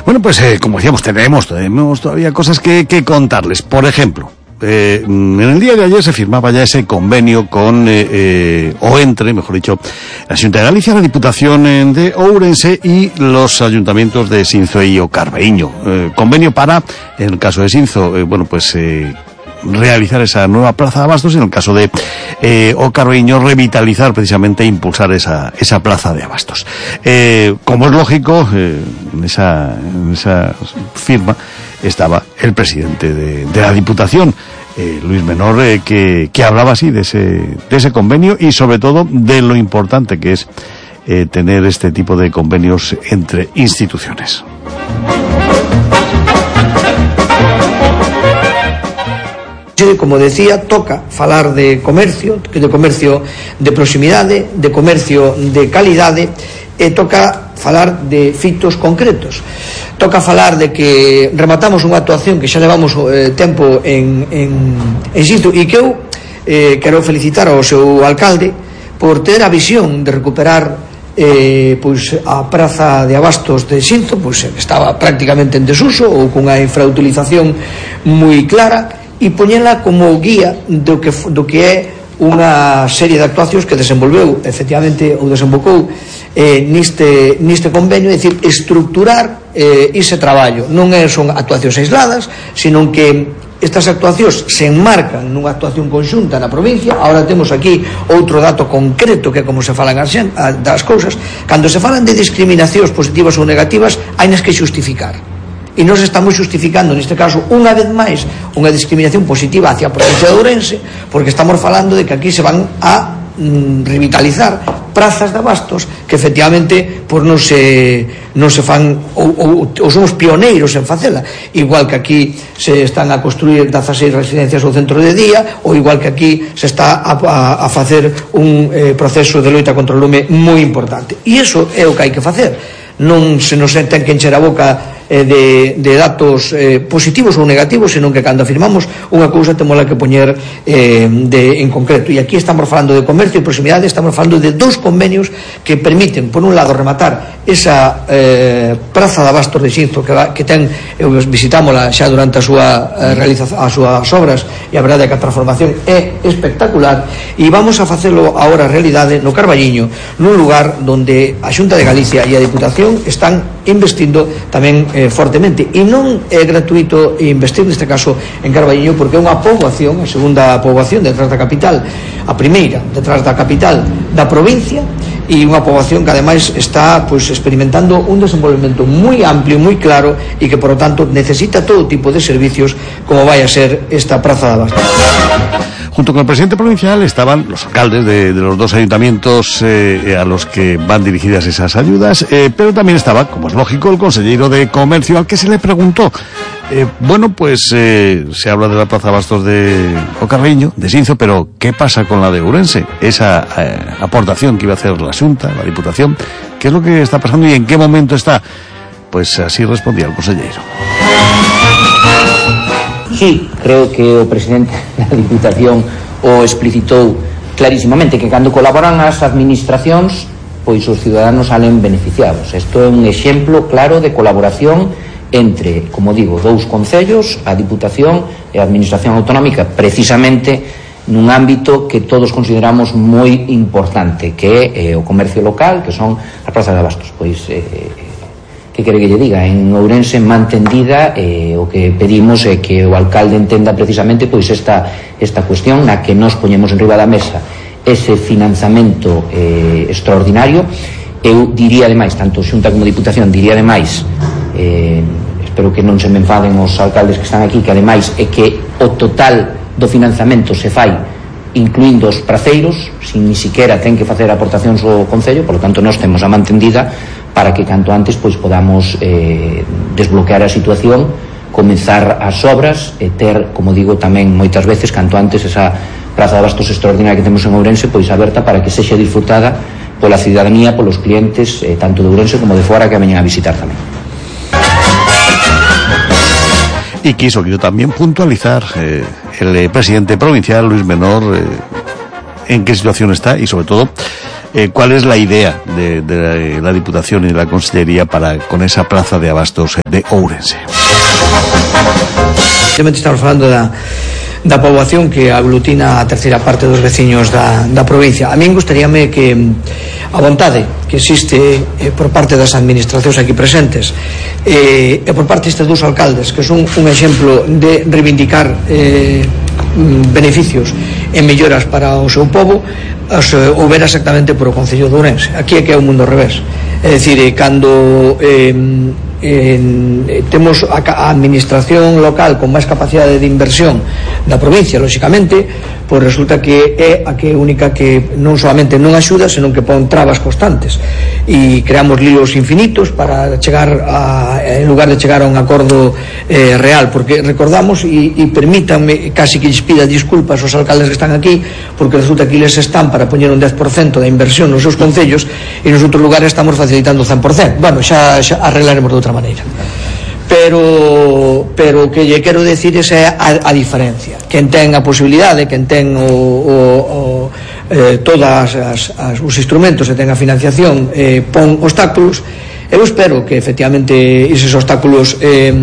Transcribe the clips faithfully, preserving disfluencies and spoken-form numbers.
Bueno, pues eh, como decíamos, tenemos, tenemos todavía cosas que, que contarles. Por ejemplo, Eh, en el día de ayer se firmaba ya ese convenio con, eh, eh, o entre, mejor dicho, la Xunta de Galicia, la Diputación de Ourense y los ayuntamientos de Sinzo y O Carbeíño. Eh, convenio para, en el caso de Sinzo, eh, bueno, pues eh, realizar esa nueva plaza de abastos, y en el caso de eh, O Carbeíño, revitalizar precisamente e impulsar esa, esa plaza de abastos. Eh, como es lógico, eh, en esa, en esa firma estaba el presidente de, de la Diputación, eh, Luis Menor, eh, que, que hablaba así de ese, de ese convenio y sobre todo de lo importante que es eh, tener este tipo de convenios entre instituciones. Como decía, toca falar de comercio, de comercio de proximidade, de comercio de calidade, e toca falar de fitos concretos. Toca falar de que rematamos unha actuación que xa levamos eh, tempo en, en, en Sinzo, e que eu eh, quero felicitar ao seu alcalde por ter a visión de recuperar eh, pois, a praza de abastos de Sinzo, pois estaba prácticamente en desuso ou cunha infrautilización moi clara, e poñela como guía do que, do que é unha serie de actuacións que desenvolveu efectivamente ou desembocou eh, niste, niste convenio, é dicir, estructurar eh, ese traballo. Non é, son actuacións aisladas, sino que estas actuacións se enmarcan nunha actuación conxunta na provincia. Ahora temos aquí outro dato concreto, que é como se falan as, das cousas. Cando se falan de discriminacións positivas ou negativas, hai nas que xustificar. E nos estamos xustificando, neste caso, unha vez máis, unha discriminación positiva hacia a provincia de Ourense, porque estamos falando de que aquí se van a mm, revitalizar prazas de abastos que efectivamente pues, non se non se fan ou, ou, ou somos pioneiros en facela, igual que aquí se están a construir dezaseis residencias ao centro de día, ou igual que aquí se está a, a, a facer un eh, proceso de loita contra o lume moi importante. E iso é o que hai que facer. Non se nos ten que encher a boca eh, de, de datos eh, positivos ou negativos, senón que cando afirmamos unha cousa temola que poñer eh, de, en concreto. E aquí estamos falando de comercio e proximidade, estamos falando de dous convenios que permiten, por un lado, rematar esa eh, praza de abastos de Sinzo que, va, que ten, eu visitámola xa durante a súa eh, realización, as súas obras, e a verdade é que a transformación é espectacular, e vamos a facelo agora realidade no Carballiño, nun lugar onde a Xunta de Galicia e a Diputación están investindo tamén eh, fortemente, e non é gratuito investir neste caso en Carballiño, porque é unha poboación, a segunda poboación detrás da capital, a primeira detrás da capital da provincia, e unha poboación que ademais está pues, experimentando un desenvolvemento moi amplio, moi claro, e que por lo tanto necesita todo tipo de servicios como vai a ser esta praza de abastos. Junto con el presidente provincial estaban los alcaldes de, de los dos ayuntamientos eh, a los que van dirigidas esas ayudas, eh, pero también estaba, como es lógico, el consejero de Comercio, al que se le preguntó. Eh, bueno, pues eh, se habla de la plaza de abastos de O Carbeíño, de Sinzo, pero ¿qué pasa con la de Ourense? Esa eh, aportación que iba a hacer la Xunta, la Diputación, ¿qué es lo que está pasando y en qué momento está? Pues así respondía el consejero. Sí, creo que o presidente da Diputación o explicitou clarísimamente, que cando colaboran as administracións, pois os ciudadanos salen beneficiados. Isto é un exemplo claro de colaboración entre, como digo, dous concellos, a Diputación e a Administración Autonómica, precisamente nun ámbito que todos consideramos moi importante, que é eh, o comercio local, que son as plazas de abastos. Pois eh, que quere que lle diga, en Ourense mantendida, eh, o que pedimos é que o alcalde entenda precisamente pois esta, esta cuestión na que nos poñemos en riba da mesa ese financiamento eh, extraordinario. Eu diría ademais, tanto Xunta como Diputación, diría ademais, eh, espero que non se me enfaden os alcaldes que están aquí, que ademais é que o total do financiamento se fai incluindo os praceiros, sin ni siquiera ten que facer aportacións ao Concello, por lo tanto nós temos a mantendida para que canto antes pois podamos eh, desbloquear a situación, comenzar as obras e ter, como digo tamén moitas veces, canto antes esa praza de abastos extraordinaria que temos en Ourense pois aberta para que sexa disfrutada pola cidadanía, polos clientes eh, tanto de Ourense como de fora que veñen a visitar tamén. Y quiso, quiso también puntualizar eh, el eh, presidente provincial, Luis Menor, eh, en qué situación está y sobre todo eh, ¿cuál es la idea de, de la Diputación y de la Consellería para con esa praza de abastos de Ourense? Estamos falando da da poboación que aglutina a terceira parte dos veciños da, da provincia. A min gustaríame que a vontade que existe eh, por parte das administracións aquí presentes eh, e por parte destes dous alcaldes que son un exemplo de reivindicar eh, beneficios e melloras para o seu povo, os eh, houbera exactamente por o Concello de Ourense. Aquí é que é o mundo ao revés. É dicir, eh, cando eh, En, eh, temos a, a administración local con máis capacidade de inversión da provincia, lóxicamente, pois resulta que é a que única que non solamente non axuda, senón que pon trabas constantes e creamos líos infinitos para chegar a, en lugar de chegar a un acordo eh, real, porque recordamos e, e permítanme, casi que lles pida disculpas aos alcaldes que están aquí, porque resulta que eles están para poñer un dez por cento da inversión nos seus concellos e nos outros lugares estamos facilitando o cen por cento. Bueno, xa, xa arreglaremos de outra maneira, pero pero o que lle quero decir é a, a diferencia. Quen ten a posibilidade, quen ten o, o, o, eh, todas as, as, os instrumentos e ten a financiación, eh, pon obstáculos. Eu espero que efectivamente eses obstáculos eh,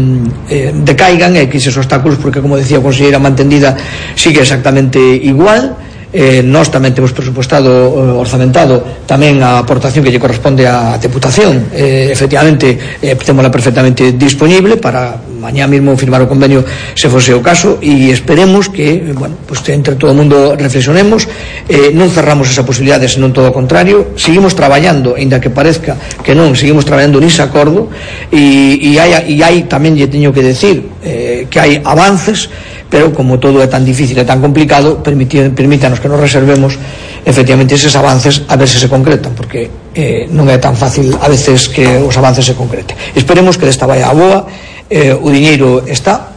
eh, decaigan e que eses obstáculos, porque como decía a conselleira mantendida, sigue exactamente igual. Eh, nós tamén temos presupuestado, eh, orzamentado tamén a aportación que lle corresponde á Deputación. Eh, efectivamente, eh, témola perfectamente disponible para mañá mismo firmar o convenio se fose o caso, e esperemos que, bueno, pues entre todo o mundo reflexionemos, eh, non cerramos esa posibilidade, senón todo o contrario, seguimos traballando, ainda que parezca que non, seguimos traballando nese acordo, e, e, hai, e hai tamén lle teño que decir eh, que hai avances, pero como todo é tan difícil e tan complicado, permítanos que nos reservemos efectivamente eses avances a ver se se concretan, porque eh, non é tan fácil a veces que os avances se concreten. Esperemos que desta vai a boa, eh, o diñeiro está,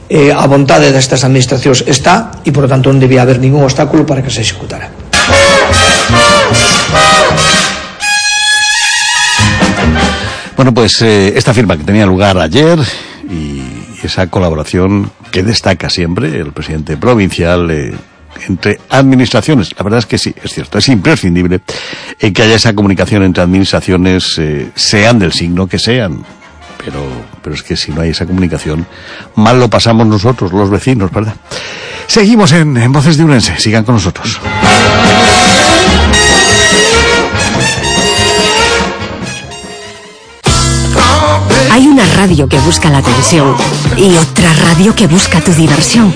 eh, a vontade destas administracións está, e por lo tanto non debía haber ningún obstáculo para que se executara. Bueno, pues eh, esta firma que tenía lugar ayer y esa colaboración que destaca siempre el presidente provincial eh, entre administraciones. La verdad es que sí, es cierto, es imprescindible eh, que haya esa comunicación entre administraciones, eh, sean del signo que sean. Pero, pero es que si no hay esa comunicación, mal lo pasamos nosotros, los vecinos, ¿verdad? Seguimos en, en Voces de Ourense, sigan con nosotros. Hay una radio que busca la atención y otra radio que busca tu diversión.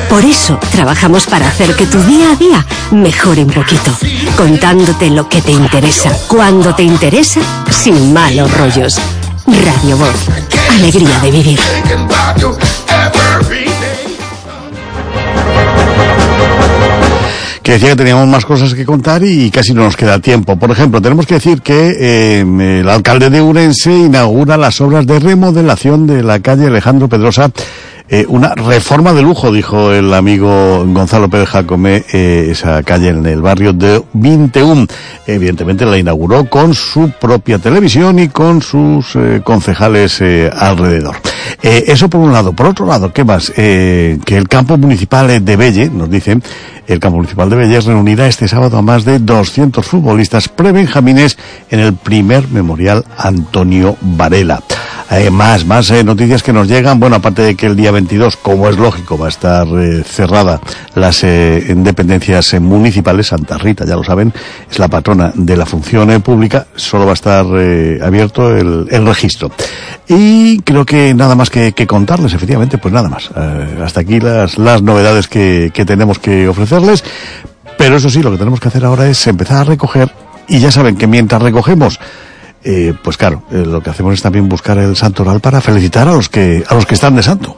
Por eso trabajamos para hacer que tu día a día mejore un poquito, contándote lo que te interesa, cuando te interesa, sin malos rollos. Radio Voz, alegría de vivir. Que decía que teníamos más cosas que contar y casi no nos queda tiempo. Por ejemplo, tenemos que decir que eh, el alcalde de Ourense inaugura las obras de remodelación de la calle Alejandro Pedrosa. Eh, una reforma de lujo, dijo el amigo Gonzalo Pérez Jacome, eh, esa calle en el barrio de veintiuno. Evidentemente la inauguró con su propia televisión y con sus eh, concejales eh, alrededor. Eh, eso por un lado. Por otro lado, ¿qué más? Eh, que el campo municipal de Belle, nos dicen, el campo municipal de Belle reunirá este sábado a más de doscientos futbolistas prebenjamines en el primer memorial Antonio Varela. Eh, más, más eh, noticias que nos llegan. Bueno, aparte de que el día veintidós, como es lógico, va a estar eh, cerrada las eh, dependencias eh, municipales. Santa Rita, ya lo saben, es la patrona de la función eh, pública. Solo va a estar eh, abierto el, el registro. Y creo que nada más que, que contarles, efectivamente, pues nada más. Eh, hasta aquí las, las novedades que, que tenemos que ofrecerles. Pero eso sí, lo que tenemos que hacer ahora es empezar a recoger. Y ya saben que mientras recogemos, Eh, pues claro, eh, lo que hacemos es también buscar el santoral para felicitar a los que a los que están de santo.